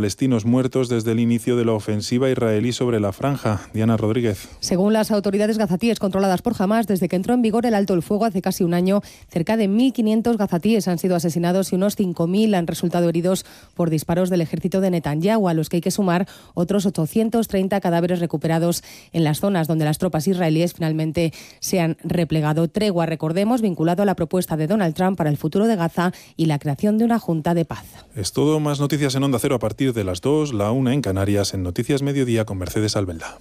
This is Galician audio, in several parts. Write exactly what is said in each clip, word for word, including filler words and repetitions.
palestinos muertos desde el inicio de la ofensiva israelí sobre la franja. Diana Rodríguez. Según las autoridades gazatíes controladas por Hamás, desde que entró en vigor el alto el fuego hace casi un año, cerca de mil quinientos gazatíes han sido asesinados y unos cinco mil han resultado heridos por disparos del ejército de Netanyahu, a los que hay que sumar otros ochocientos treinta cadáveres recuperados en las zonas donde las tropas israelíes finalmente se han replegado. Tregua, recordemos, vinculado a la propuesta de Donald Trump para el futuro de Gaza y la creación de una junta de paz. Es todo. Más noticias en Onda Cero a partir de las dos, la una en Canarias, en Noticias Mediodía con Mercedes Albelda.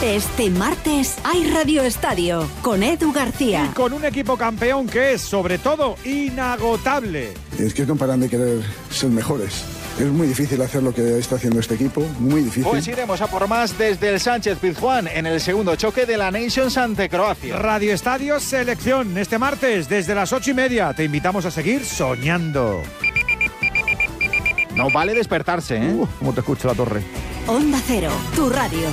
Este martes hay Radio Estadio con Edu García. Y con un equipo campeón que es, sobre todo, inagotable. Es que no paran de querer ser mejores. Es muy difícil hacer lo que está haciendo este equipo, muy difícil. Pues iremos a por más desde el Sánchez-Pizjuán en el segundo choque de la Nations ante Croacia. Radio Estadio Selección, este martes desde las ocho y media. Te invitamos a seguir soñando. No vale despertarse, ¿eh? Uh, ¿Cómo te escucho la torre? Onda Cero, tu radio.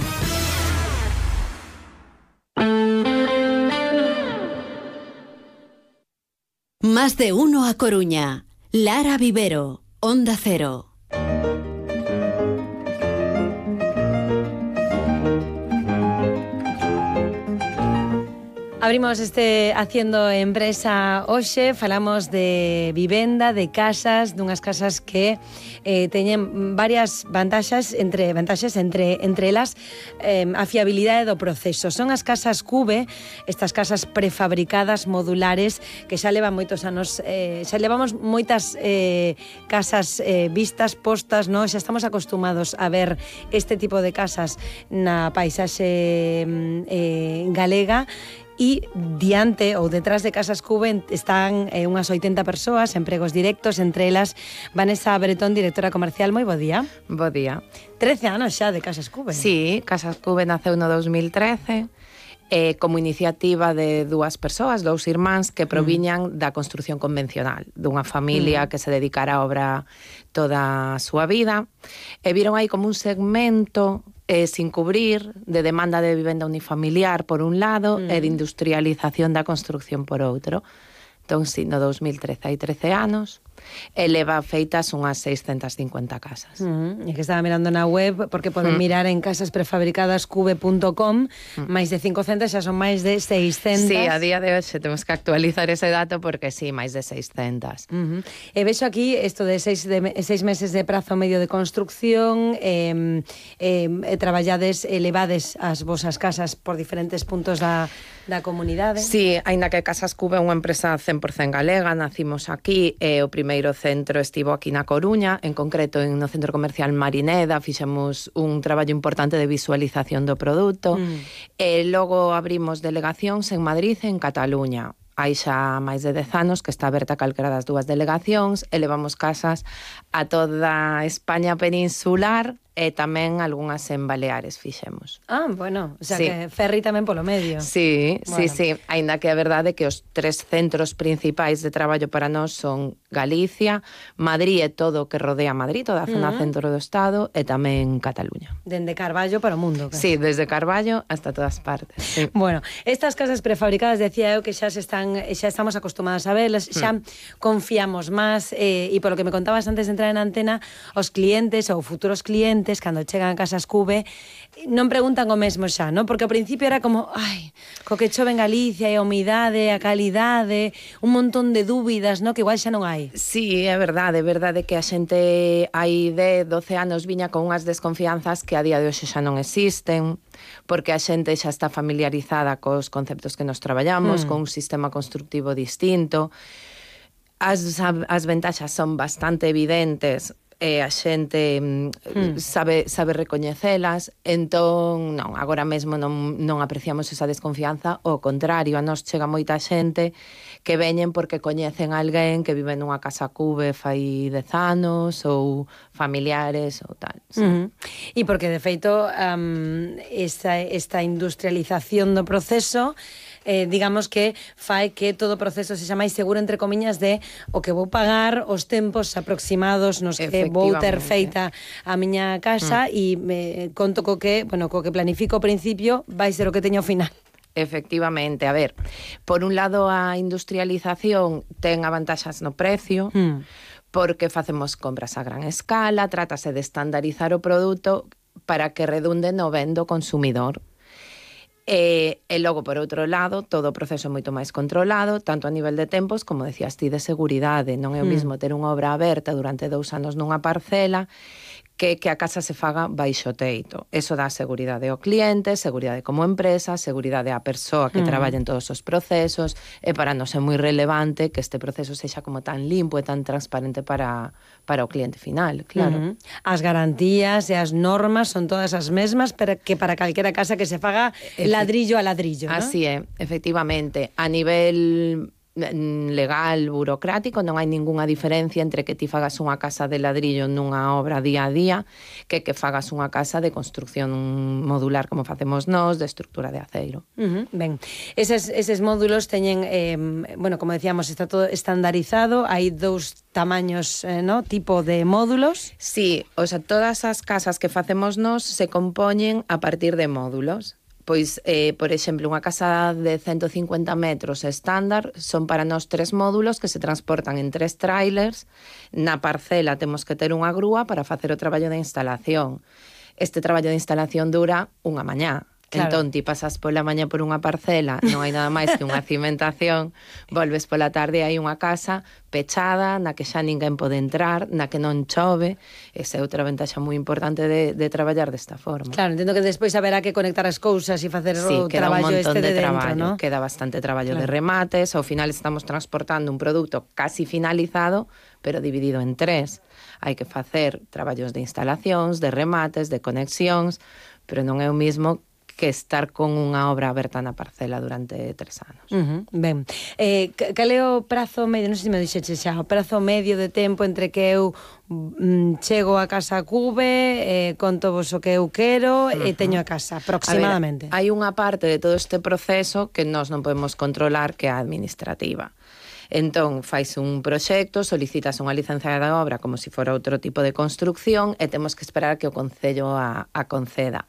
Más de uno a Coruña. Lara Vivero, Onda Cero. Abrimos este Haciendo Empresa hoxe, falamos de vivenda, de casas, dunhas casas que eh, teñen varias vantaxes, entre vantaxes entre entre elas eh, a fiabilidade do proceso. Son as casas Cube, estas casas prefabricadas, modulares, que xa levan moitos anos, eh, xa levamos moitas eh, casas eh, vistas, postas, no? Xa estamos acostumados a ver este tipo de casas na paisaxe eh, galega. E diante ou detrás de Casas Cube están eh, unhas oitenta persoas, empregos directos, entre elas Vanessa Bretón, directora comercial. Moi bo día. Bo día. trece anos xa de Casas Cube. Sí, Casas Cube naceu no dos mil trece eh, como iniciativa de dúas persoas, dous irmáns que proviñan mm. da construción convencional, dunha familia mm. que se dedicara á obra toda a súa vida, e viron aí como un segmento Eh, sin cubrir, de demanda de vivenda unifamiliar por un lado mm. e de industrialización da construcción por outro. Entón, si, no dos mil trece, hai trece anos, e leva feitas unhas seiscentas cincuenta casas. Mm, e que estaba mirando na web, porque poden mm. mirar en casas prefabricadas cube punto com, mm. máis de cincocentas, xa son máis de seiscentas. Sí, a día de hoxe temos que actualizar ese dato, porque sí, máis de seiscentas. Uh -huh. E vexo aquí isto de seis, de seis meses de prazo medio de construcción, eh, eh, traballades, elevades as vosas casas por diferentes puntos da, da comunidade. Sí, aínda que Casas Cube é unha empresa cen por cento galega, nacimos aquí, e o primeiro centro estivo aquí na Coruña, en concreto en no centro comercial Marineda, fixemos un traballo importante de visualización do produto, mm. e logo abrimos delegacións en Madrid e en Cataluña. Hai xa máis de dez anos que está aberta calquera das dúas delegacións, e levamos casas a toda España peninsular, e tamén algunhas en Baleares fixemos. Ah, bueno, o sea sí. que ferry tamén polo medio. Sí, bueno. sí, sí, aínda que a verdade é que os tres centros principais de traballo para nós son Galicia, Madrid e todo o que rodea Madrid, toda a zona uh -huh. centro do Estado, e tamén Cataluña. Dende Carballo para o mundo. Claro. Sí, desde Carballo hasta todas partes. Sí. Bueno, estas casas prefabricadas, decía eu que xa se están, xa estamos acostumadas a verlas, xa mm. confiamos máis, eh, e polo que me contabas antes de entrar en antena, os clientes ou futuros clientes cando chegan a Casas Cube non preguntan o mesmo xa, non? Porque ao principio era como, ai, co que chove en Galicia e a humidade, a calidade, un montón de dúbidas, non? Que igual xa non hai. Sí, é verdade, é verdade que a xente hai dez, doce anos viña con unhas desconfianzas que a día de hoxe xa non existen, porque a xente xa está familiarizada cos conceptos que nos traballamos, mm. con un sistema constructivo distinto. As, as ventaxas son bastante evidentes, e a xente mm. sabe, sabe recoñecelas, entón non, agora mesmo non, non apreciamos esa desconfianza, ao contrario, a nos chega moita xente que veñen porque coñecen a alguén que vive nunha casa Cube fai dez anos, ou familiares ou tal. Sí. Uh -huh. E porque de feito um, esta, esta industrialización do proceso Eh, digamos que fai que todo o proceso sexa máis seguro, entre comiñas, de o que vou pagar, os tempos aproximados nos que vou ter feita a miña casa, e mm. me conto co que, bueno, co que planifico ao principio vai ser o que teño ao final. Efectivamente, a ver, por un lado a industrialización ten avantaxas no precio, mm. porque facemos compras a gran escala, trátase de estandarizar o produto para que redunde no ben do consumidor. E, e logo, por outro lado, todo o proceso é moito máis controlado, tanto a nivel de tempos, como decías ti, de seguridade. Non é o mismo ter unha obra aberta durante dous anos nunha parcela que que a casa se faga baixo teito. Eso dá seguridade ao cliente, seguridade como empresa, seguridade á persoa que mm. traballa en todos os procesos, e para nós é moi relevante que este proceso sexa como tan limpo e tan transparente para, para o cliente final, claro. Mm-hmm. As garantías e as normas son todas as mesmas para que para calquera casa que se faga Efe... ladrillo a ladrillo, ¿no? Así é, efectivamente. A nivel legal, burocrático, non hai ningunha diferencia entre que ti fagas unha casa de ladrillo nunha obra día a día que que fagas unha casa de construcción modular como facemos nós, de estructura de aceiro. Uh-huh. Ben, eses, eses módulos teñen, eh, bueno, como decíamos, está todo estandarizado, hai dous tamaños, eh, ¿no? Tipo de módulos. Sí, o sea, todas as casas que facemos nós se compoñen a partir de módulos. Pois, eh, por exemplo, unha casa de ciento cincuenta metros estándar son para nós tres módulos que se transportan en tres trailers. Na parcela temos que ter unha grúa para facer o traballo de instalación. Este traballo de instalación dura unha mañá. Claro. Entón, ti pasas pola mañá por unha parcela, non hai nada máis que unha cimentación, volves pola tarde, hai unha casa pechada, na que xa ninguén pode entrar, na que non chove. Esa é outra ventaxa moi importante de, de traballar desta forma. Claro, entendo que despois haberá que conectar as cousas e facer sí, o traballo este de, de dentro, traballo, ¿no? Queda bastante traballo claro. de remates, ao final estamos transportando un produto casi finalizado, pero dividido en tres. Hai que facer traballos de instalacións, de remates, de conexións, pero non é o mismo que estar con unha obra aberta na parcela durante tres anos. Uh-huh. Ben, eh, cal é o prazo medio, non sei se me dixeche xa, o prazo medio de tempo entre que eu mm, chego a casa Cube, eh, conto vos o que eu quero uh-huh. e teño a casa, aproximadamente? A ver, hai unha parte de todo este proceso que nós non podemos controlar, que é a administrativa. Entón, fais un proxecto, solicitas unha licencia de obra como se fora outro tipo de construcción e temos que esperar que o Concello a, a conceda.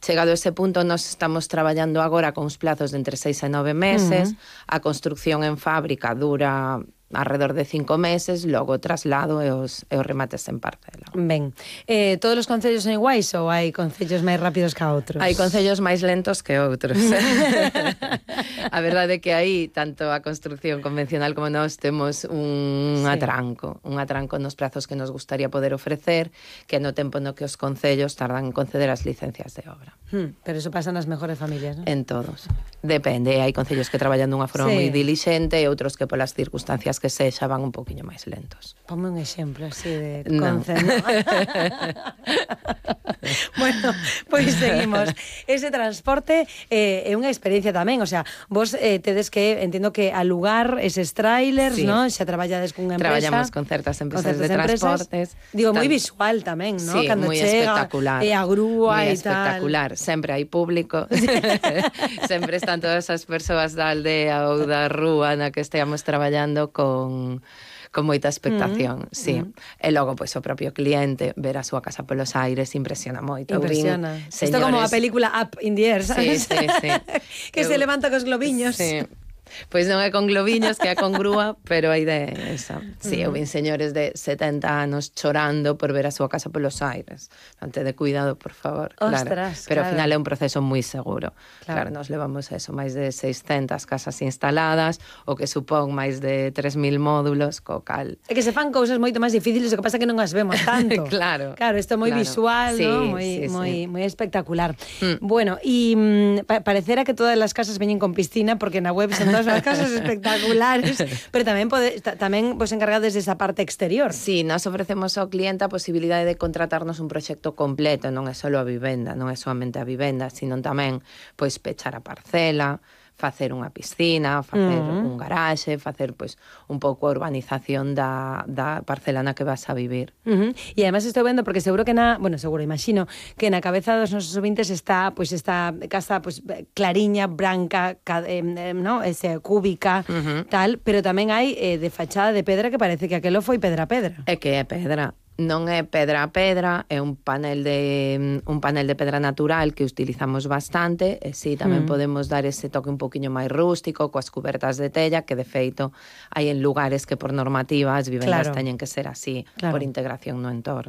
Chegado a ese punto, nós estamos traballando agora con uns plazos de entre seis e nove meses. Uh-huh. A construcción en fábrica dura alrededor de cinco meses, logo o traslado e os, e os remates en parcela. Ben, eh, todos os concellos son iguais ou hai concellos máis rápidos que outros? Hai concellos máis lentos que outros. A verdade é que aí, tanto a construcción convencional como nós, temos un sí. atranco, un atranco nos prazos que nos gustaría poder ofrecer, que no tempo no que os concellos tardan en conceder as licencias de obra. Hmm, pero eso pasa nas mejores familias, ¿no? En todos. Depende, hai concellos que traballan dunha forma sí. moi dilixente e outros que polas circunstancias que sexa van un poquinho máis lentos. Ponme un exemplo así de concello. No. Bueno, pois seguimos. Ese transporte eh, é unha experiencia tamén, o sea, vos eh, tedes que, entendo que alugar eses trailers, sí. ¿no? Xa traballades cunha empresa. Traballamos con certas empresas con certas de transportes. Empresas. Digo, moi visual tamén, ¿no? Sí, cando moi chega espectacular. e a grúa e tal. Espectacular, sempre hai público. Sempre están todas as persoas da aldea ou da rúa na que esteamos traballando con con, con moita expectación, mm, sí. Mm. E logo, pois, o propio cliente ver a súa casa polos aires impresiona moito. Impresiona. Isto como a película Up in the Air, ¿sabes? Sí, sí, sí. Que Eu, se levanta cos globiños. Sí. Pois non é con globiños, que é con grúa, pero a idea é esa. Sí, eu vin señores de setenta anos chorando por ver a súa casa polos aires. Ante de cuidado, por favor. Ostras, claro. Pero claro. ao final é un proceso moi seguro. Claro, claro nos levamos eso, máis de seiscentas casas instaladas, o que supón máis de tres mil módulos, co cal. É que se fan cousas moito máis difíciles, o que pasa é que non as vemos tanto. Claro. Claro, isto é moi claro. visual, sí, ¿no? Moi, sí, moi, sí. moi espectacular. Mm. Bueno, e mm, pa parecera que todas as casas veñen con piscina, porque na web son todas as casas espectaculares, pero tamén pode, tamén vos encargades desa parte exterior. Sí, nós ofrecemos ao cliente a posibilidade de contratarnos un proxecto completo, non é só a vivenda, non é soamente a vivenda, sino tamén pois pechar a parcela, facer unha piscina, facer uh-huh. un garaxe, facer pois un pouco a urbanización da, da parcela na que vas a vivir. Uh-huh. E además estou vendo, porque seguro que na, bueno, seguro, imagino, que na cabeza dos nosos ouvintes está, pois esta casa pois clariña, branca, ca, eh, no, ese cúbica, uh-huh. tal, pero tamén hai eh, de fachada de pedra que parece que aquelo foi pedra a pedra. É que é pedra. Non é pedra a pedra, é un panel de un panel de pedra natural que utilizamos bastante, e si tamén mm. podemos dar ese toque un poquinho máis rústico coas cubertas de tella, que de feito hai en lugares que por normativa as vivendas claro. teñen que ser así, claro. por integración no entorno.